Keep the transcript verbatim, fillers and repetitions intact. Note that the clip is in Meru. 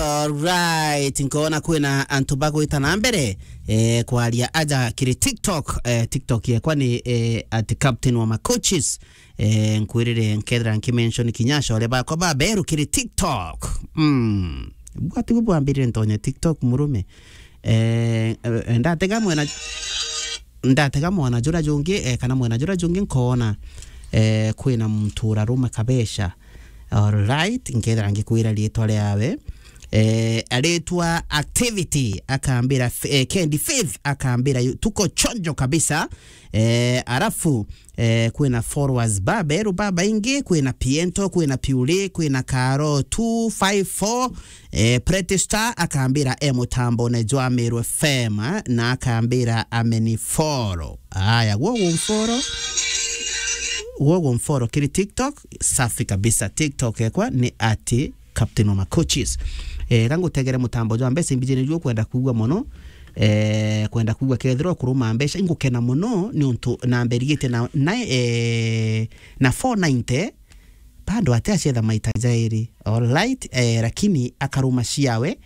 Alright, nkona kwina antu bagwita na mbere, eh, kwaria aja kiri TikTok. Eh, TikTok yekwa ni, eh, at Captain wa Macoaches. Eh, nkwirire nkethira nkimention kinya acore bakwa baberu kiri TikTok. Mm. Bwati bwambirire ntonye TikTok, murume. Eh, eh, ndatega mwena, ndatega mwena jura jungi, eh, kana mwena jura jungi nkona, eh, kwina muntu uraruma kabesha. Alright, nkethira ngikwira riitwa riawe. Eh, aritwa Activity, akambira F-, eh, Kendi Faith, akambira yu-, tuko chonjo kabisa. Eh, arafu, eh, kwina followers baberu babaingi, kwina Piento, kwina Piuli, kwina Karo two five four, eh, Pretty Star, akambira e mutambone jwa Meru F M, eh, na akambira ameni follow. Aya, gwo gumfollow. Gwo gumfollow kiri TikTok, safi kabisa. TikTok ekwa ni ati Captain wa Macoaches. Eh, ga ngutegere mutambo jwa mbeca imbijene jwo kwenda kugua mono. Eh, kwenda kugua kethirwa kuruma mbeca, ingukena mono ni untu na mberigite na, na, eh, na four ninety, bado ati acetha maita jairi. Alright, eh, lakini akaruma ciawe,